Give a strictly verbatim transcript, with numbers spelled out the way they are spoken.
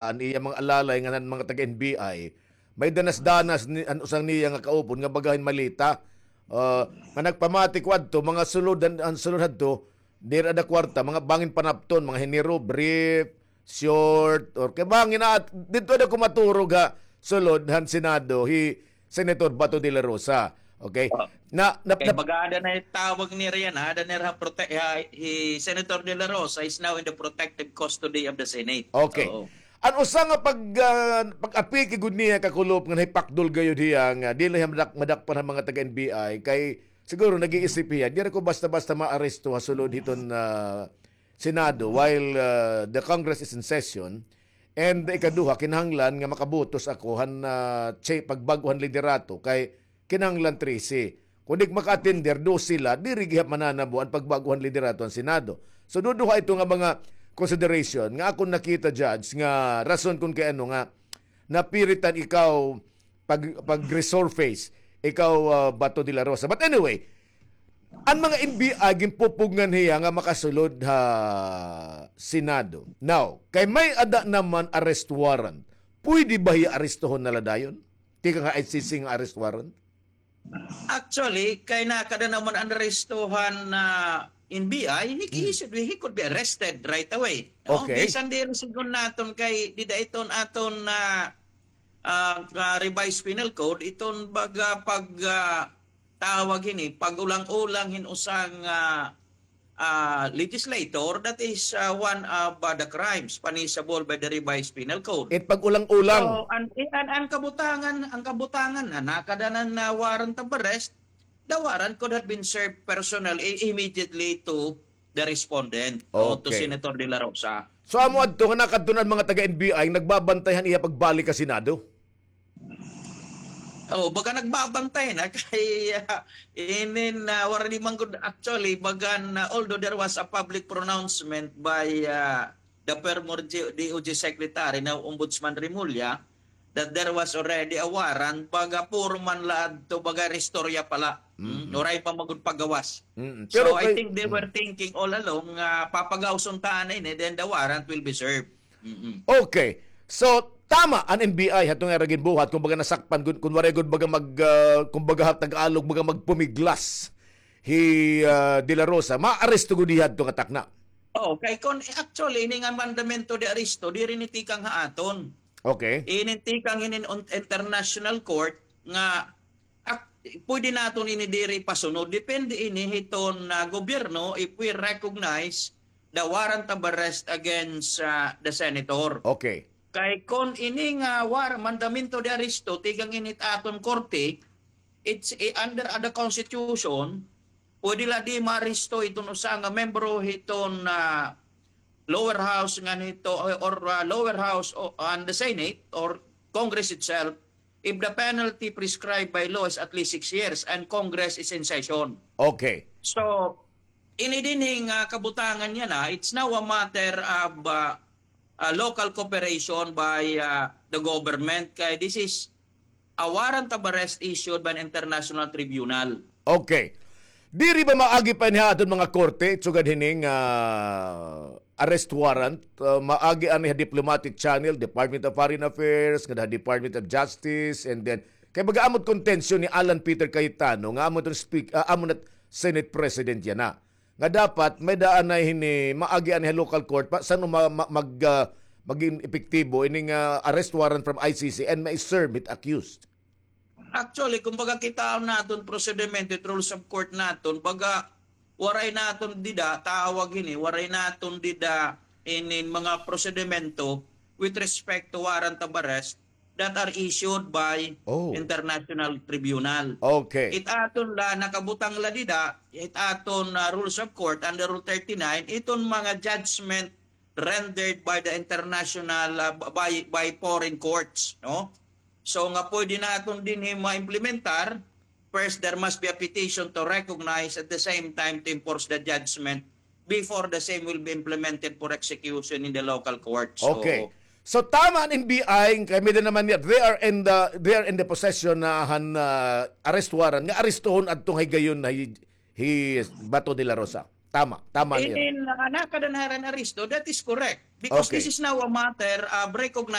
an iya mga alalay ngan an mga taga-N B I, may danas-danas ni, an usa niya nga kaupod nga baga hin malita, ah, nga nagpamati ko adto, mga sulod, an, an sulod hadto, diri ada kwarta, mga bangin panapton, mga hiniro, brief, short, or kay bangin na, didto ada ko maturog ha sulod han Senado, hi Senator Bato de la Rosa. Okay? Oh. Na, na, Kay na baga ada na tawag nira yana, ada nira ha prote-, ha, hi Senator de la Rosa is now in the protective custody of the Senate. Okay. Oo. An usa nga pag, ah, pag-apiki gud niya kakulop nga nahipakdol gayud hiya nga dili hiya madak-, madakpan han mga taga-N B I kay siguro nag-iisip hiya, diri ko basta-basta maaresto ha sulod hiton, ah, Senado while, ah, the Congress is in session. And ikaduha, kinahanglan nga makabotos ako han, ah, cha-, pagbag-o han liderato kay kinahanglan trese. Kon di maka-attender, dose la, diri gihap mananabo an pagbag-o han liderato han Senado. So, duduha ito nga mga consideration nga akon nakita, Judge, nga rason kon kay ano nga napiritan ikaw pag, pag-resurface, ikaw, ah, Bato de la Rosa. But anyway, an mga N B I, ginpupugngan hiya nga makasulod ha Senado. Now, kay may ada naman arrest warrant, pwede ba hiya arestohon na la dayon? Tikang ha I C C nga arrest warrant? Actually, kay nakada naman an arestohan na N B I, he, he should be, he could be arrested right away, no? Okay. Bisan diri sigon naton kay dida iton aton na, ah, ah, revised penal code, iton baga pag, ah, tawag hini, pag-ulang-ulang hin usa nga ah, legislator, that is, ah, one of, ah, the crimes punishable by the Revised Penal Code. It pag-ulang-ulang. So, an, an, an kabutangan, an kabutangan na nakada na warrant of arrest, the warrant could have been served personally, immediately to the respondent, o to Okay. Senator De La Rosa. So, amo adto nga nakadto na an mga taga-N B I nagbabantay han iya pagbalik ha Senado? Oh, baga nagbabantay na kay, ah, inin, ah, waray man gud, actually, baga na, although there was a public pronouncement by, ah, the former G-, D O J Secretary, now Ombudsman Remulla, that there was already a warrant, baga puro man la adto, baga istorya pa la. Mm, waray pa man gud pagawas. Mm. So, I think they were thinking all along nga papagawason ta na ini, then the warrant will be served. Mm-mm. Okay. So, tama an N B I hadto nga ira ginbuhat, kumbaga nasakpan gud, kun waray gud baga mag, ah, kumbaga ha Tagalog, baga magpumiglas hi, ah, De La Rosa, maaresto gud hiya hadto nga takna. Oh, kay kun, actually, ini nga mandamento de arresto, diri ini tikang ha aton. Okay. Ini tikang hinin international court nga Ak-, pwede naton ini diri pasunod. Depende ini hiton, ah, gobyerno if we recognize the warrant of arrest against, ah, the senator. Okay. Kay kon ini nga war-, mandamento de arresto, tikang ini ha aton korte, it's, eh, under the constitution, pwede la di maaresto iton usa nga membro hiton, ah, lower house ngan hito, or, ah, lower house o, and the Senate or Congress itself, if the penalty prescribed by law is at least six years and Congress is in session. Okay. So, ini dinhi nga kabutangan yana, it's now a matter of, uh, uh, local cooperation by, uh, the government. Kay this is a warrant of arrest issued by an international tribunal. Okay. Diri ba maagi pa ini ha aton mga korte, sugad hini nga, ah, arrest warrant, ah, maagi ani ha diplomatic channel, Department of Foreign Affairs, ngada ha Department of Justice, and then, kay baga amo it kontensyon ni Alan Peter Cayetano, nga amo iton speak-, ah, amo na Senate President yana. Nga dapat, may-ada anay hini, maagi ani ha local court, pa, san-o ma-, ma-, mag-, ah, magin epektibo, ini nga arrest warrant from I C C and ma-serve it accused. Actually, kumbaga, kitaon naton prosedimento, it rules of court naton, baga, waray naton dida, tawag hini, waray naton dida inin mga prosedimento with respect to warrant of arrest that are issued by international tribunal. Okay. It aton la, nakabutang la dida, it aton, ah, rules of court under Rule thirty-nine, iton mga judgment rendered by the international, ah, by, by foreign courts, no? So, nga pwede naton dinhi ma-implementar, first, there must be a petition to recognize, at the same time to enforce the judgment before the same will be implemented for execution in the local court. So, okay. So, tama an N B I, kay may-ada naman niya, they are in the, they are in the possession na han, ah, arrest warrant, nga arestohon adto nga higayon na hi, hi Bato de la Rosa. Tama, tama niya. Inin, ah, nakada na hira in aresto, that is correct. Because this is now a matter of recognizing